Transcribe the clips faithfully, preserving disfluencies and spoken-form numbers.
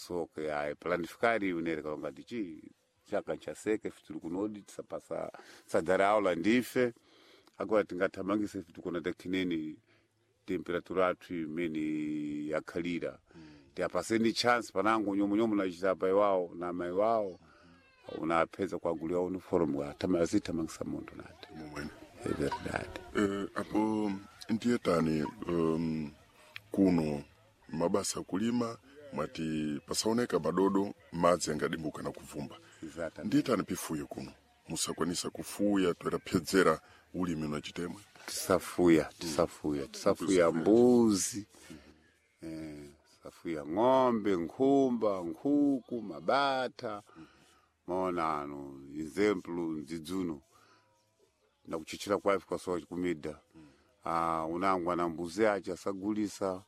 So que ai planificar unere kalonga tichi chaka nchaseke fituli kunodi tisapasa sadara aula ndife agora tingathamangise fitu kuna takineni temperatura athu imene yakhalira tiapaseni chance panango nyomunyomu nachitapa iwawo na mai wawo unapeza kwaguliwa uniform azithamangisa munthu nati momwene é verdade Eh, apo ndiye tani um, kuno mabasa akulima mwati pasaoneka madodo madzi angadimbuka na kuvumba Exatamente. ndiye tani pifuyo kuno musakwanisa kufuya toeraphedzera ulimi unachitemwe tisafuya tisafuya tisafuya mbuzi eh, tisafuya ng'ombe nkhumba nkhuku mabata maona ano exemplo ndzidzuno nakuchichira kwafe kwasowa kumida ah, unangwa na mbuzi ache asagulisa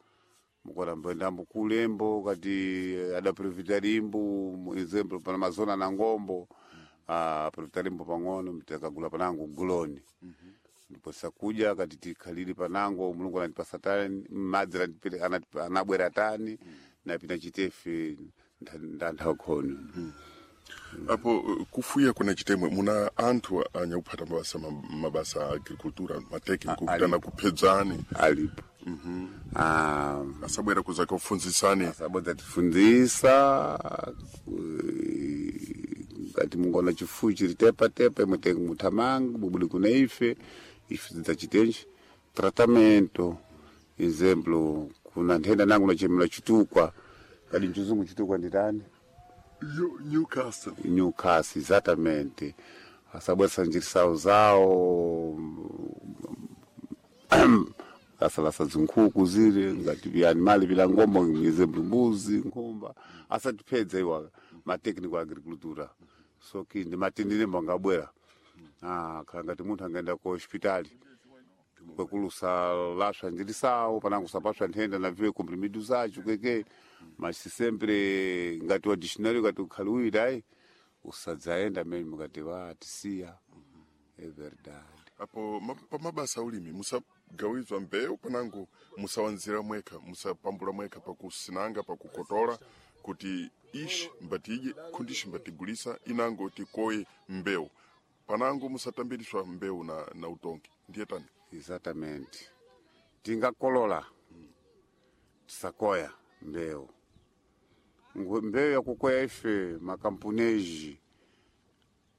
mukora mboendambo kulembo kati adaprofita limbo exemplo pana mazona na ngombo ah, aprofita limbo pang'ono mtakagula panango guloni ndipo sakuja kati tikhaliri panango mulungu anatipasa tani madzi anatipere- anatipa- anabwera tani napita chitefe ndanthaukhono apo eh, kufuya kuna chitemwe muna anthu anyakuphata mabasa ma- mabasa a agricultura matekniko A- kutana kuphedzani alipo Ah, asabwera kuza kufunzisani asabodza tifundzisa ngati mungona chifuyo chiri tepatepa imwe tenge muthamanga bubuli kuna ife ife tidzachitenji tratamento exemplo kuna nthenda nangu nachemera chitukwa kadi mchizungu chitukwa nditani Yo- Newcastle Newcastle exatamente asabwesa njirisawo zawo asalasa zinkhuku zile ngati vya-animali vila ngombo exemplo mbuzi nkhumba asatiphedza iwa matechnical agricultura so ki ndi matindilembo angabwera ah, khala ngati munthu angaenda ku hospitali kwekulusa laswa njirisawo panango sapaswa nthenda na viwe comprimido zacho kweke mas sempre ngati wa dictionary ngati ukhali uwiri ayi usadzaenda mene mukati wa tisiya é verdade apo ma- pa mabasa aulimi musagawizwa mbewu panango musawanzira mwekha musapambula mwekha pakusinanga pakukotola kuti ishi mbatidye khundishi mbatigulisa inango tikoye mbewu panango musatambiriswa mbewu na, na utongi ndiye tani exatamente tingakolola tisakoya mbewu Ngwe- mbewu yakukoya ife makampuneji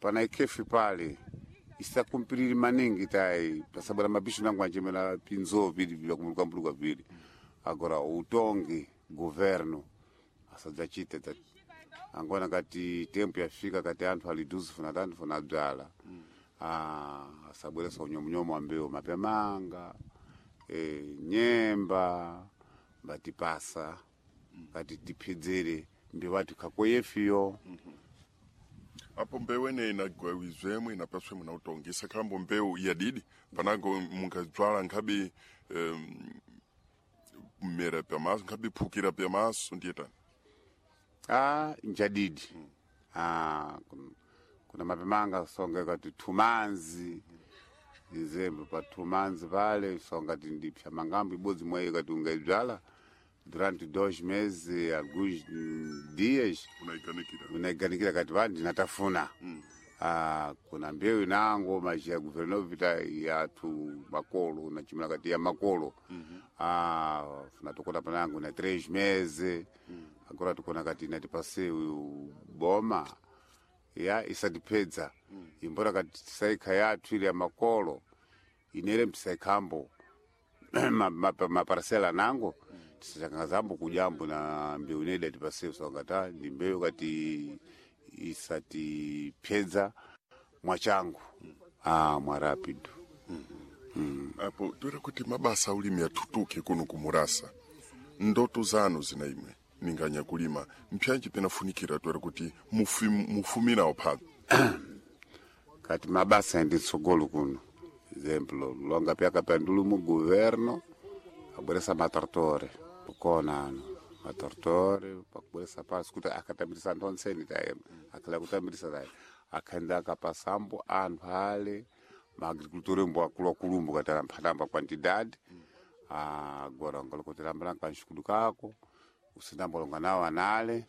pana ikhefi pale isakumpiriri maningi tayi pasabwera mabishi nangu anjemera pinzo vili vyakumulukampuluka vili agora utongi governo asadzachite ta angona kati tempo yafika kati anthu ali duzi funa tanthu funa bzala ah, asabweresa unyomunyomu wa mbewu mapyamanga e, nyemba mbatipasa kati tiphedzere mbewu ati khakoyefiyo apo mbewu eneyi inagawizwemwe inapaswemwe na utongi isakhalambo mbewu yadidi panango mungadzwala nkhabe um, mmera pyamaso nkhabe phukira pyamaso ndiye tani ah njadidi ah kun- kuna mapemanga songa kati thumanzi izembe pa thumanzi pale songa ti ndipsha mangambo ibodzi mwayo kati ungaidzala durante dois meses alguns mm, dias unaiganikira unaiganikira kati va ndinatafuna ah, kuna mbewu inango maji ya governo vita yathu makolo nachimula kati ya makolo ah, funa tokota panango na três meses agora tikona kati inatipase uyu boma ya isatipedza imbora kati tisaikha yathu ili ya makolo inere mtisaikhambo maparasela nango tisachangazambo kujambo na mbeu ineda tipase sangata ndi mbewu kati isatipyedza mwachangu ah, mwa rapido apo toera kuti mabasa aulimi atutuke kuno kumurasa ndoto zanu zina imwe ninganya kulima mpyanji pinafunikira toera kuti mufi- mufuminawo pano kati mabasa endi tsogolo kuno exemplo longa pyaka pyandulu mu governo abweresa matortore kukona ano matortore pakubweresa pasi kuti akatambirisa anthu onseni taye akhala kutambirisa taye akhaenda akapasambo anthu ale maagriculture mbo akuluakulumbo kati amphatamba quantidade agora ngalokotelambala kanxikudu kako usindambolonga nawo anale